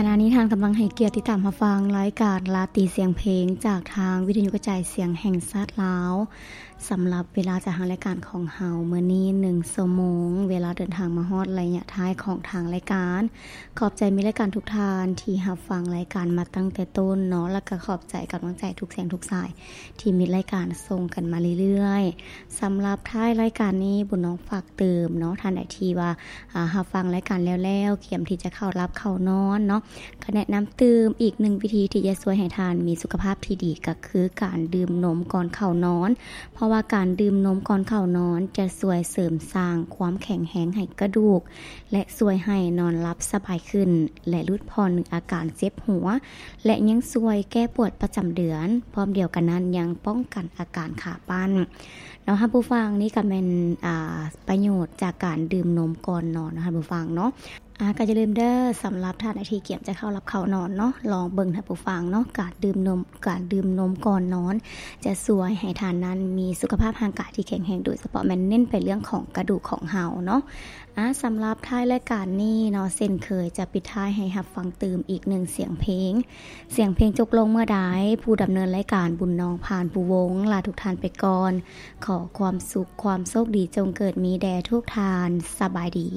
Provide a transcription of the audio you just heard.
ຂະນະນີ້ທ່ານກຳລັງໃຫ້ກຽດຕິດຕາມຮັບຟັງລາຍການລາຕີສຽງເພງ ຈາກທາງວິທະຍຸກະຈາຍສຽງແຫ່ງຊາດລາວ. ສຳລັບເວລາຈາກທາງລາຍການຂອງເຮົາມື້ນີ້ໜຶ່ງຊົ່ວໂມງ, ເວລາເດີນທາງມາຮອດໄລຍະທ້າຍຂອງທາງລາຍການ. ຂອບໃຈມິດລາຍການທຸກທ່ານທີ່ຮັບຟັງລາຍການມາຕັ້ງແຕ່ຕົ້ນເນາະ, ແລ້ວກໍຂອບໃຈກຳລັງໃຈທຸກສຽງທຸກສາຍທີ່ມິດລາຍການສົ່ງກັນມາເລື້ອຍໆ. ສຳລັບທ້າຍລາຍການນີ້ ບຸນນ້ອງຝາກເຕີມເນາະ, ທ່ານໃດທີ່ວ່າ ອາ ຮັບຟັງລາຍການແລ້ວໆ ກຽມທີ່ຈະເຂົ້າຫຼັບເຂົ້ານອນເນາະ, ກໍແນະນຳຕື່ມອີກໜຶ່ງວິທີທີ່ຈະຊ່ວຍໃຫ້ທ່ານມີສຸຂະພາບທີ່ດີ ກໍຄືການດື່ມນົມກ່ອນເຂົ້ານອນ, ເພາະວ່າການດື່ມນົມກ່ອນເຂົ້ານອນຈະຊ່ວຍເສີມສ້າງຄວາມແຂງແຮງໃຫ້ກະດູກ ແລະ ຊ່ວຍໃຫ້ນອນຫຼັບສະບາຍຂຶ້ນ ແລະ ຫຼຸດຜ່ອນອາການເຈັບຫົວ ແລະ ຍັງຊ່ວຍແກ້ປວດປະຈຳເດືອນ, ພ້ອມດຽວກັນນັ້ນຍັງປ້ອງກັນອາການຂາປັ້ນເນາະ ທ່ານຜູ້ຟັງ. ນີ້ກໍແມ່ນ ອາ ປະໂຫຍດຈາກການດື່ມນົມກ່ອນນອນເນາະ ທ່ານຜູ້ຟັງເນາະ. ອາ ກໍຢ່າລືມເດີ ສຳລັບທ່ານໃດທີ່ກຽມຈະເຂົ້າຫຼັບເຂົ້ານອນເນາະ, ລອງເບິ່ງ ທ່ານຜູ້ຟັງເນາະ, ການດື່ມນົມ ການດື່ມນົມກ່ອນນອນ ຈະຊ່ວຍໃຫ້ທ່ານນັ້ນມີສຸຂະພາບຮ່າງກາຍທີ່ແຂງແຮງ, ໂດຍສະເພາະແມ່ນເນັ້ນໄປເລື່ອງຂອງກະດູກຂອງເຮົາເນາະ. ອາ ສຳລັບທ້າຍລາຍການນີ້ເນາະ, ເຊັ່ນເຄີຍຈະປິດທ້າຍໃຫ້ຮັບຟັງຕື່ມອີກໜຶ່ງສຽງເພງ. ສຽງເພງຈົບລົງເມື່ອໃດ, ຜູ້ດຳເນີນລາຍການ ບຸນນ້ອງ ພານພູວົງ ລາທຸກທ່ານໄປກ່ອນ. ຂໍຄວາມສຸກຄວາມໂຊກດີຈົ່ງເກີດມີແດ່ທຸກທ່ານ. ສະບາຍດີ.